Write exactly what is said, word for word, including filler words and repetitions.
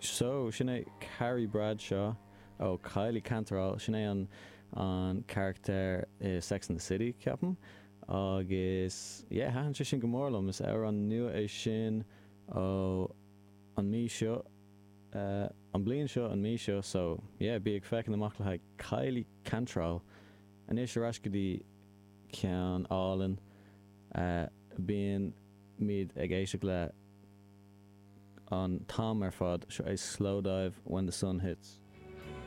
So sin é Carrie Bradshaw ó Kylie Cantrall sin é an an carachtar i Sex and the City ceapaim agus yeah thaitin sé sin go mór liom is amhrán nua é sin ó an mí seo uh, an bliain seo an mí seo so yeah bí ag féachaint amach le haghaidh Kylie Cantrall anois ar ais go dtí ceann álainn uh, bíonn muid ag éisteacht le an t-am ar fad seo é Slowdive when the sun hits.